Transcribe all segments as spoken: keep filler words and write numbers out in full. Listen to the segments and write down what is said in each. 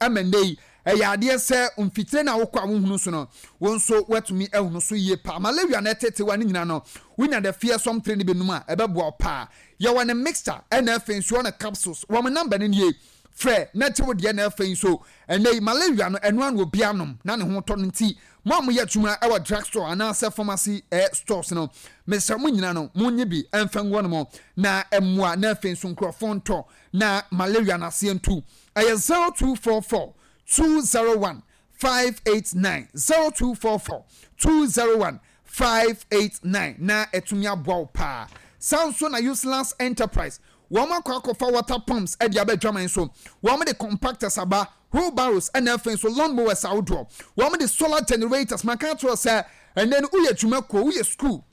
Ɛma nnɛ yi ɛyɛ adeɛ sɛ mfitire no a wokɔ a wohunu so no, wo nso woatumi ahunu so yie paa. Malaria na ɛtetewa ne nyinaa no, wonya the fearsome three no binom a, ɛbɛboa wo paa. Yɛwɔ ne mixture ɛna afei nso ɔne capsules. Wɔn number no nie, frɛ na gye wo deɛ. Na afei nso ɛnɛ yi malaria no, ɛno ano obi anom na ne ho tɔ no. Nti mo a moyɛ adwuma ɛwɔ drug store anaasɛ pharmacy eh, stores no, mesrɛ mo nyina no, monye bi ɛmfa ngu no mo na ɛmmoa na afei nso nkurɔfoɔ ntɔ na malaria no aseɛ ntu. Ɛyɛ zero two four four two zero one five eight nine, zero two four four two zero one five eight nine, na ɛtumi aboa wo paa. Saa nso na Useless Enterprise, wɔn akɔ akɔfa water pumps ɛde aba adwaman so. Wɔn de compactors aba, wheelbarrows, ɛna afei nso lawn mowers ahodoɔ. Wɔn de solar generators. Maka akyerɛ sɛ ɛnɛ no woyɛ adwuma kuo, woyɛ school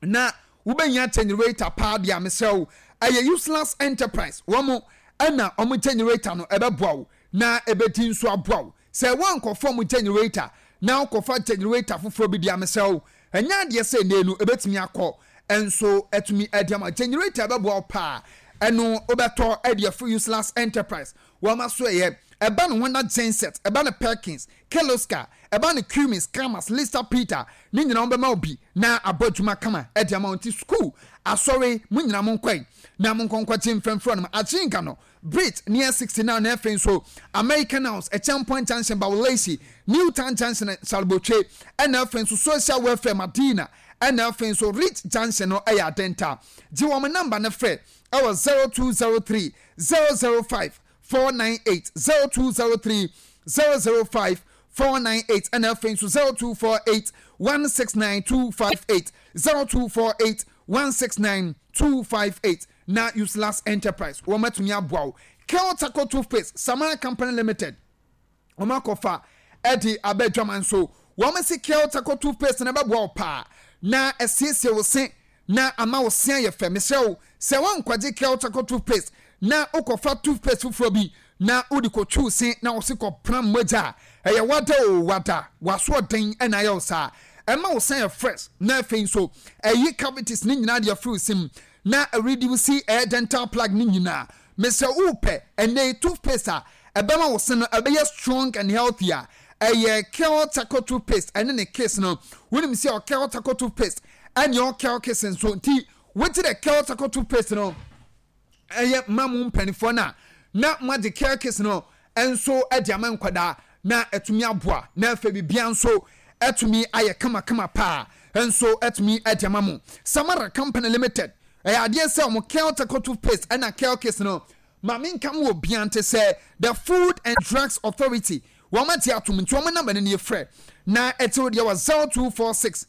na wobɛnya generator paa deɛ a, mesrɛ wo, ɛyɛ Useless Enterprise. Wɔn ɛna wɔn generator no ɛbɛboa wo na ɛbɛdi nso aboa wo. Sɛ wɔnkɔfa wɔn generator na wokɔfa generator foforɔ bi deɛ a, mesrɛ wo, ɛnyɛ adeɛ sɛ ɛnɛ no ɛbɛtumi akɔ nso ɛtumi ɛde ama. Generator ɛbɛboa wo paa, ɛno wobɛtɔ ɛde afiri Useless Enterprise. Wɔn aso ɛyɛ ɛba no Honda genset, ɛba no Perkins, Kirloskar, ɛba no Cummins, Kamas, Lister Peter ne nyinaa, wɔn bɛma wo bi na abɔ adwuma kama ɛde ama wɔn. Ti school, asɔre, mo nyinaa mo nkɔe na mo nkɔnkɔgye mfɛmfrɛ no Akyinka no Bridge near sixty-nine, na afei nso American House, Ɛkyɛnpɔn Junction, Bawolesi, New Town Junction, Salbotwe, ɛna afei nso Social Welfare, Madina, ɛna afei nso Rich Junction no ɛyɛ Adenta. Gye wɔn number no frɛ ɛwɔ zero two zero three zero zero five four nine eight, zero two zero three zero zero five four nine eight, ɛna afei nso zero two four eight one six nine two five eight, zero two four eight one six nine two five eight, na Useless Enterprise wɔn atumi aboa wo. Kel Taco toothpaste, Samara Company Limited, wɔn akɔfa ɛde aba adwaman so. Wɔn si Kel Taco toothpaste na ɛbɛboa wo paa na ɛsiesie wo se na ama wo se ayɛ fɛ. Mesrɛ wo, sɛ wɔnkwagye Kel Taco toothpaste na wokɔfa toothpaste foforɔ bi na wode kɔtwiw se na wo se kɔpram mogya a, ɛyɛ wada o wada wasoɔden ɛna ayɛ wo saa. Ɛma wo se yɛ fresh na afei nso ɛyi cavities ne nyinaa de afiri wo se mu na ɛreduce ɛyɛ dental plaque ne nyinaa. Mesrɛ, wopɛ ɛnɛ toothpaste a ɛbɛma wo se no ɛbɛyɛ strong and healthy a, ɛyɛ Kel Taco toothpaste ɛne ne kiss no. Wonim sɛ ɔkel Taco toothpaste ɛne ɔkel kiss nso, nti wogye dɛ Kel Taco toothpaste no ɛyɛ ma mo mpanimfoɔ no a, na moagye Kel Kiss no nso de ama nkwadaa na ɛtumi aboa na afei biribiara nso ɛtumi ayɛ kamakama paa nso ɛtumi de ama mo. Samara Company Limited, ɛyɛ adeɛ sɛ ɔmo Kel Taco toothpaste ɛna Kel Kiss no, maame nka mo wɔ bia nte sɛ the Food and Drugs Authority wɔn ate atom, nti wɔn number no nie, frɛ na ɛte deɛ wɔ zero two four six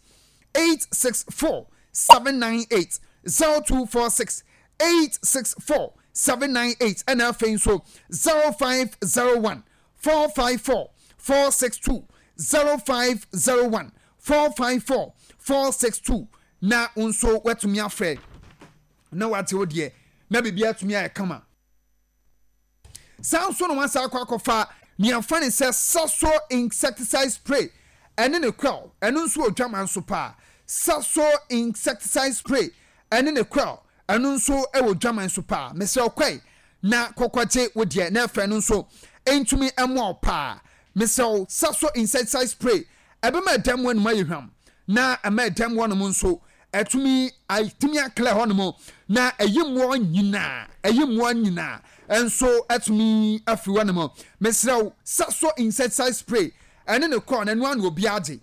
eight six four seven nine eight, zero two four six eight six four seven nine eight, ɛna afei nso zero five zero one four five four four six two, zero five zero one four five four four six two, na nso watumi afrɛ na wate wo deɛ na biribi atumi ayɛ kama. Saa nso na wasa akɔ akɔfa nea fa ne sɛ Saso insecticide spray ɛne ne coil. Ɛno nso wɔ dwama nso paa. Saso insecticide spray ɛne ne coil, ɛno nso wɔ dwama nso paa. Mesrɛ, ɔkɔe na kɔkɔgye wo deɛ na ɛfɛ no nso ntumi mmoa wo paa. Mesrɛ wo, Saso insecticide spray ɛbɛma ɛdɛm wɔ anum ayɛ hwam na ɛma ɛdɛm wɔ nom nso ɛtumi atumi aclear hɔ nom na ɛyi mmoa nyinaa, ɛyi mmoa nyinaa nso ɛtumi afiri hɔ nom. Mesrɛ wo, Saso insecticide spray ɛne ne coil na ɛno ano obi agye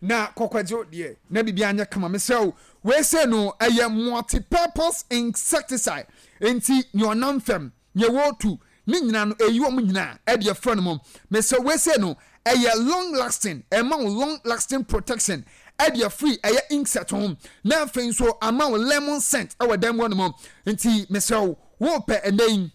na kɔkɔgye deɛ na biribi anyɛ kama. Mesrɛ wo, weesei no ɛyɛ multi-purpose insecticide, nti nea ɔnam fam, nea wɔretu ne nyinaa no, ɛyi wɔn nyinaa ɛde ɛfrɛ no mu. Mesrɛ, weesei no ɛyɛ long lasting, ɛma wo long lasting protection ɛde afiri ɛyɛ insect ho na afei nso ama wo lemon scent ɛwɔ dan mu hɔ nom. Nti mesrɛ wo, wɔɔpɛ ɛnɛ yi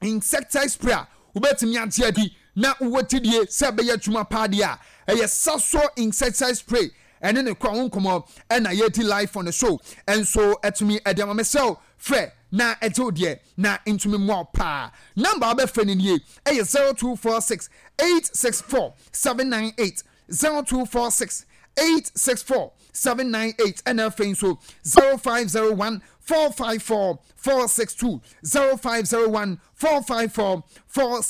insecticide spray a wobɛtumi agye adi na wowɔ gyidie sɛ ɛbɛyɛ adwuma paa deɛ a, ɛyɛ Saso insecticide spray ɛne ne kora ho nkɔmmɔ ɛna yɛdi live on the show ɛnso ɛtumi ɛde ama. Mesrɛ, frɛ na ɛgye wo deɛ na ntumi mmoa wo paa. Number a wobɛfrɛ no nie, ɛyɛ zero two four six eight six four seven nine eight, zero two four six eight six four seven nine eight, ɛna afei nso zero five zero one four five four four six two, zero five zero one four five four four